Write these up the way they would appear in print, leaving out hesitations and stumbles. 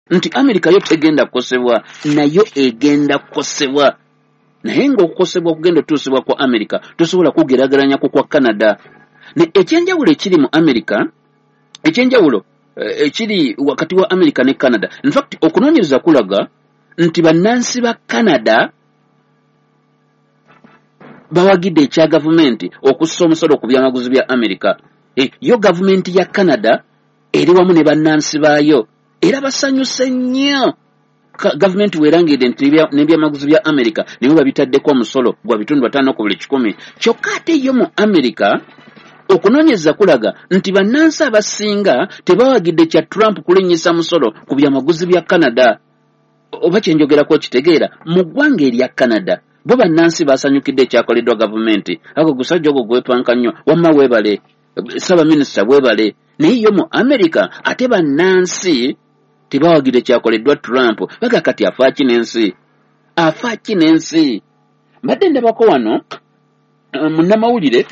Nti Amerika yo tegenda kukosebwa, nayo egenda kukosebwa, naye ng'okukosebwa okugenda otuusibwa kwa Amerika tosobola kugeraageranya ku kwa Canada. Ne ekyenjawulo ekiri mu Amerika, ekyenjawulo ekiri wakati wa Amerika ne Canada, infact okunoonyereza kulaga nti bannansi ba Canada bawagidde ekya gavumenti okussa omusolo ku byamaguzi bya Amerika. Yo gavumenti ya Canada eri wamu ne bannansi baayo era basanyuse nnyo gavumenti weerangiridde nti n'ebyamaguzi bya Amerika naye babitaddeko omusolo gwa 5% ku buli 100. Kyokka ate yo mu Amerika okunoonyereza kulaga nti bannansi abasinga tebawagidde kya Trump kulinnyisa musolo ku byamaguzi bya Canada. Oba kyenjogerako okitegeera? Mu ggwanga erya Canada bo bannansi basanyukidde ekyakoleddwa gavumenti. Ago gusajja ogwo gwepanka nnyo, wamma weebale ssaabaminisita, weebale. Naye yo mu Amerika ate bannansi tebawagidde kyakoleddwa Trump. Baga kati afaaki n'ensi, afaaki n'ensi. Mbadde ndabako wano munnamawulire,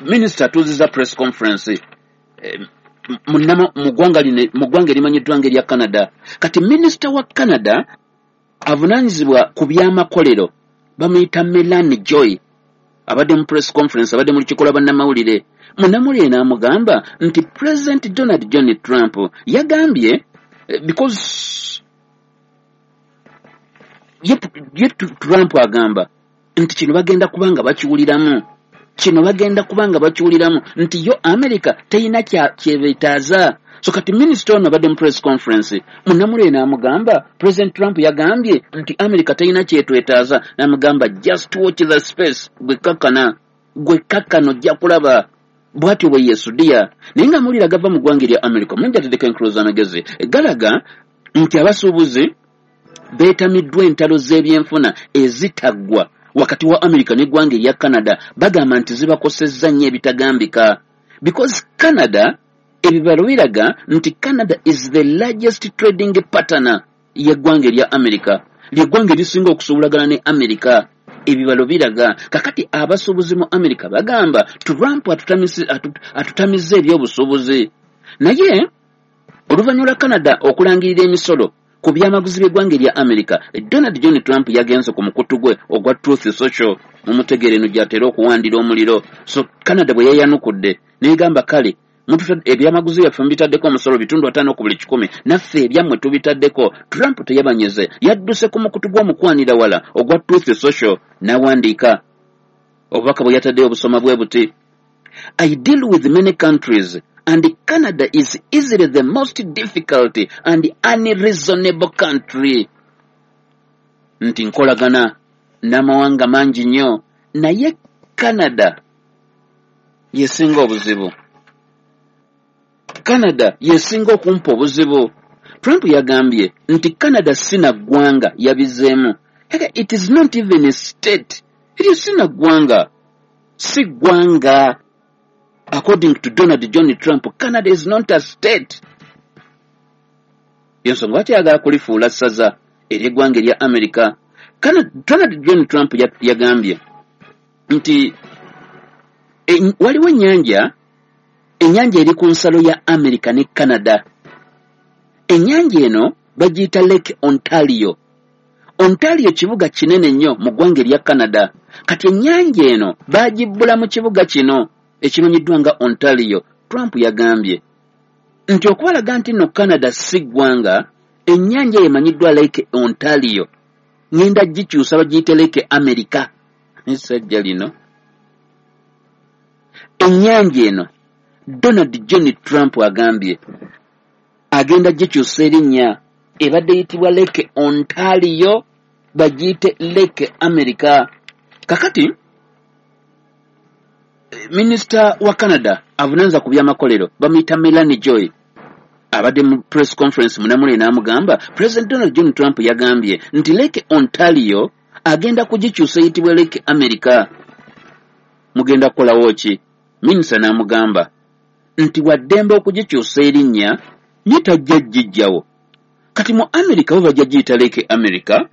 minisita atuuziza press conference mu ggwanga lino, mu ggwanga erimanyiddwa ng'erya Canada. Kati minisita wa Canada avunaanyizibwa ku byamakolero bamuyita Melanie Joy, abadde mu press conference, abadde mu lukiiko lwa bannamawulire. Munnamawulire n'amugamba nti President Donald John Trump yagambye, because ye Trump agamba nti kino bagenda kuba nga bakiwuliramu, kino bagenda kuba nga bakiwuliramu nti yo America teyina kyebetaaza. So kati minisita ono abadde mu press conference, munnamawulire n'amugamba President Trump yagambye nti America teyina kyetwetaaza, n'amugamba just watch the space, gwe kakkana, gwe kakkana ojja kulaba. Bw'atyo bwe yeesudiya. Naye nga amawulire agava mu ggwanga erya America omungi ateddeko enkululo z'amagezi galaga nti abasuubuzi beetamiddwa entalo z'ebyenfuna ezitaggwa wakati wa America n'eggwanga erya Canada. Bagamba nti zibakosezza nnyo ebitagambika, because Canada, ebibalo biraga nti Canada is the largest trading partner y'eggwanga erya America, lyeggwanga erisinga okusuubulagana ne America, ebibalo biraga. Kakati abasuubuzi mu America bagamba Trump atutamizza ebyobusuubuzi. Naye oluvannyuma lwa Canada okulangirira emisolo ku byamaguzi by'eggwanga erya America, Donald John Trump yagenze ku mukutu gwe ogwa Truth Social, mumutegeere eno gy'atera okuwandira omuliro. So Canada bwe yayanukudde n'egamba kale ebyamaguzi byaffe mubitaddeko omusolo 5% ku buli 100, naffe ebyammwe tubitaddeko. Trump teyabanyeze, yadduse ku mukutu gw'omukwanira wala ogwa Truth Social n'awandiika obubaka bwe yataddeyo obusoma bwe buti: "I deal with many countries and Canada is easily the most difficult and unreasonable country." Nti nkolagana n'amawanga mangi nnyo, naye Canada yesinga obuzibu, Canada yesinga okumpa obuzibu. Trump yagambye nti Canada si na ggwanga, yabizeemu, it is not even a state, eryo si na ggwanga, si ggwanga. According to Donald John Trump, Canada is not a state. Yensonga lwaki ayagala kulifuula ssaza ery'eggwanga erya America. Donald John Trump yagambye nti waliwo ennyanja, ennyanja eri ku nsalo ya America ne Canada. Ennyanja eno bagiyita Lake Ontario. Ontario kibuga kinene nnyo mu ggwanga erya Canada. Kati ennyanja eno bagibbula mu kibuga kino ekimanyiddwa nga Ontario. Trump yagambye nti okubalaga nti nno Canada si ggwanga, ennyanja eyo emanyiddwa Lake Ontario ŋŋenda gikyusa bagiyite Lake America. Essajja lino, ennyanja eno Donald John Trump agambye agenda gikyusa erinnya, ebadde eyitibwa Lake Ontario bagiyite Lake America. Kakati minisita wa Canada avunaanyizibwa ku byamakolero bamuyita Melanie Joy, abadde mu press conference, munamule n'amugamba President Donald John Trump yagambye nti Lake Ontario agenda kugikyusa eyitibwa Lake America, mugenda kukolawo ki? Minisita n'amugamba nti waddembe okugikyusa erinnya nye tajja gijjawo. Kati mu America bo bajja giyita Lake America,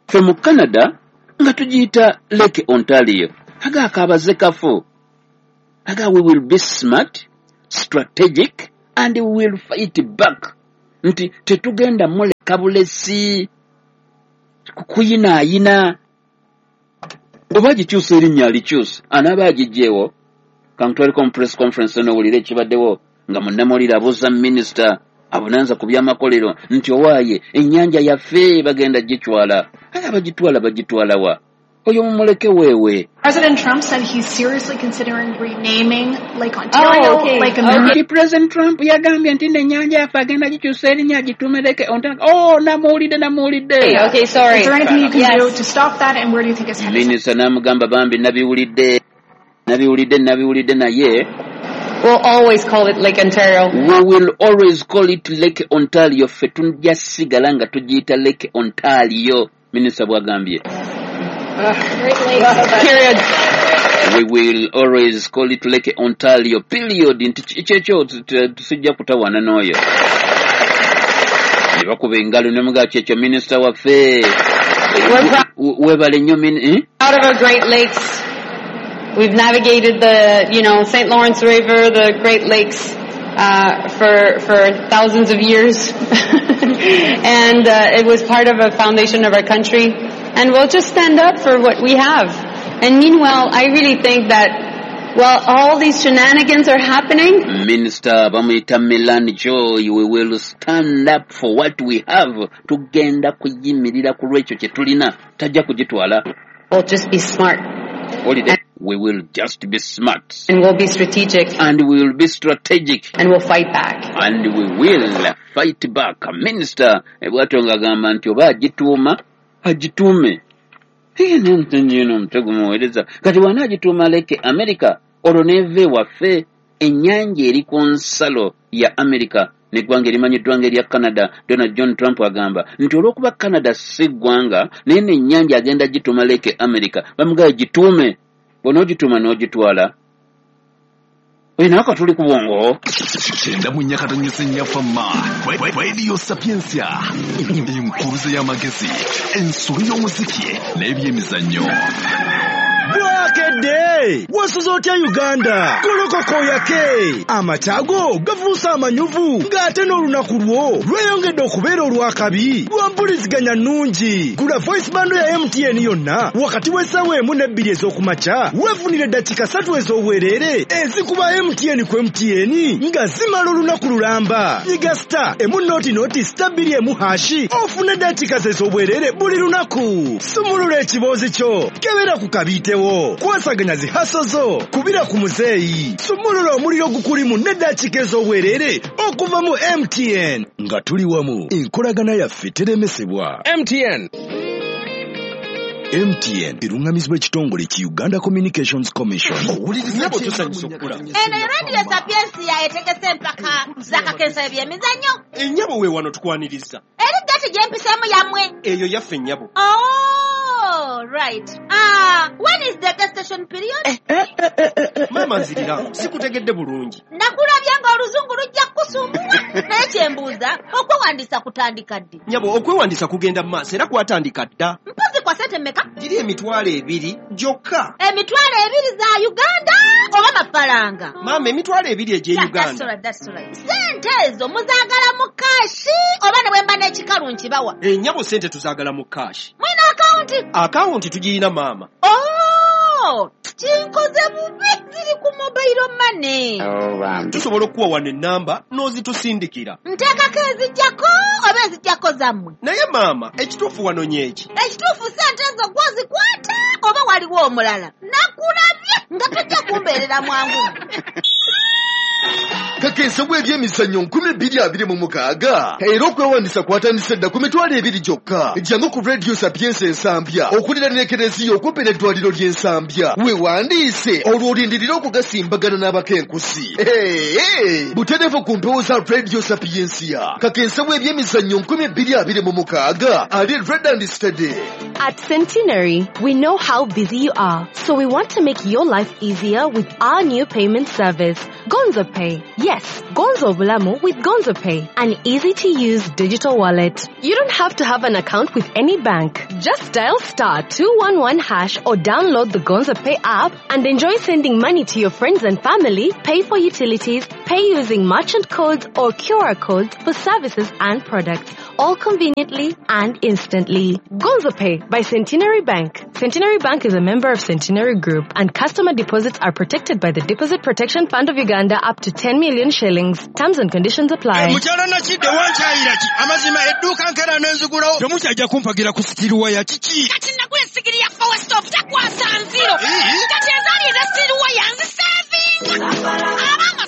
ffe mu Canada nga tugiyita Lake Ontario. Aga akabaze kafu, aga we will be smart, strategic and we will fight back, nti tetugenda mule Kuleka bulesi kuyinaayina oba gikyusa erinnya alikyusa anaaba agigyewo. Kankutwaliko mu press conference n'owulira ekibaddewo nga munnamawulire abuuza minisita abunanza ku byamakolero nti owaaye ennyanja yaffe bagenda gitwala, ate abagitwala bagitwala wa? Oyo mumuleke weewe. President Trump said he's seriously considering renaming Lake Ontario Lake America. Nti President Trump yagambye nti n'ennyanja yaffe agenda gikyusa erinnya agituume Lake Ontario. Oh, namuwulidde, namuwulidde. Okay, sorry. Is there anything you can do to stop that, and where do you think it's headed? Minisita n'amugamba bambi nabiwulidde, nabiwulidde, nabiwulidde naye We'll always call it Lake Ontario. We will always call it Lake Ontario. Ffe tujja sigala nga tugiyita Lake Ontario, minisita bw'agambye. Great Lakes. Period. We will always call it Lake Ontario, period. Nti kyekyo sijja kutawaana n'oyo. Ne bakuba engalo ne mugamba kyekyo minisita waffe. We're proud Weebale nnyo eh? of our Great Lakes. We've navigated the, you know, St. Lawrence River, the Great Lakes, for thousands of years. And it was part of a foundation of our country. And we'll just stand up for what we have. And meanwhile, I really think that while all these shenanigans are happening, Minisita bamuyita Milan Joy. We will stand up for what we have. Tugenda kuyimirira ku lwekyo kye tulina, tajja kugitwala. we'll just be smart. Owulidde? We will just be smart. And we'll be strategic. And we will be strategic. And we'll fight back. And we will fight back. Minisita bw'atyo ng'agamba nti oba agituuma agituume. Eno omutego muweereza kati bw'anaagituuma Lake America olwo n'eva ewaffe ennyanja eri ku nsalo ya America n'eggwanga erimanyiddwa ng'erya Canada. Donald John Trump agamba nti olw'okuba Canada si ggwanga naye n'ennyanja agenda gituuma Lake America. Bamugamba gituume, bw'onoogituuma n'ogitwala oyo nawe katuli ku bwongo. 94.4 Fama Radio Sapientia, enkuruze y'amagezi, ensolo y'omuziki n'ebyemizannyo. Bwakedde wasuze otya Uganda? Golokoko yake amataago gafuuse amanyuvu ng'ate n'olunaku lwo lweyongedde okubeera olwakabi lwa mpuliziganya nnungi. Gula voice bundle ya MTN yonna wakati w'essaawa 1 ne 2 ez'okumakya weefunire eddakiika 3 ez'obwereere ezikuba MTN ku MTN nga zimala olunaku lulamba. Nyiga star emu noti noti star 2 emu hashi ofune eddakiika ez'obwereere buli lunaku. Sumulula ekiboozi kyo, kebera ku kabiitewo, kwasaganya zihaso zo, kubira ku muzeeyi, sumulula omuliro gukulimu n'eddakiika ez'obwereere okuva mu MTN. Nga tuli wamu, enkolagana yaffe teremesebwa. MTN. MTN erungamizibwa ekitongole ki Uganda Communications Commission. Nnyabo tusanyusa okukulaba. Eno Radio Sapientia etegese empaka z'akakensa ebyemizannyo. Ennyabo we wano tukwaniriza. Eri gati gyempiseemu yammwe. Eyo yaffe nnyabo. Oh, right. When is the gestation period? Maama nzirira, sikutegedde bulungi. Nakulabye ng'oluzungu lujja kukusumbuwa. Naye kyembuuza, okwewandiisa kutandika ddi? Nnyabo, okwewandiisa kugenda mu maaso era kwatandika dda. Mpozi kwa ssente mmeka? Giri 20,000 gyokka. 20,000 za Uganda oba mafaranga? Maama, 20,000 egy'e Uganda. That's right. Ssente ezo muzaagala mu kaashi oba ne bwe mba n'ekikalu nkibawa? Ennyabo ssente tuzaagala mu kaashi. Mulina akawunti? Akawunti tugirina maama. Oh, kinkoze bubi, ziri ku mobile money. Tusobola okuwa wano ennamba n'ozitusindikira. Nteekako ezijjako oba ezijjako zammwe? Naye maama, ekituufu wano nyeeki. Ekituufu ssente ezo gwozikwata oba waliwo omulala? Nakulabye nga tojja kumbeerera mwangu. Kakensa bw'ebyemizannyo 2026 era okwewandiisa kwatandise dda ku 20,000 gyokka. Jangu ku Radio Sapientia Ensambya okuliraana ekereziya okumpi n'eddwaliro ly'Ensambya weewandiise olwo olindirire okugasimbagana n'abakenkusi. Butereevu ku mpewo za Radio Sapientia. Kakensa bw'ebyemizannyo 2026 ali red and steady. At Centenary, we know how busy you are, so we want to make your life easier with our new payment service, Gonzo Pay. Yes, Gonzo Bulamu with Gonzo Pay, an easy-to-use digital wallet. You don't have to have an account with any bank. Just dial *211# or download the Gonzo Pay app and enjoy sending money to your friends and family, pay for utilities, pay using merchant codes or QR codes for services and products, all conveniently and instantly. Gonzo Pay by Centenary Bank. Centenary Bank is a member of Centenary Group, and customer deposits are protected by the Deposit Protection Fund of Uganda up to 10 million shillings. Terms and conditions apply. Mukyala Nakidde, wankyayira ki? Amazima edduuka nkera n'enzigulawo, temukyajja kumpagira ku steel wire, kiki? Kati nagula essigiri ya Power Stove, takwasa nziro. Kati ezaali eza steel wire nzisevinga. Abanga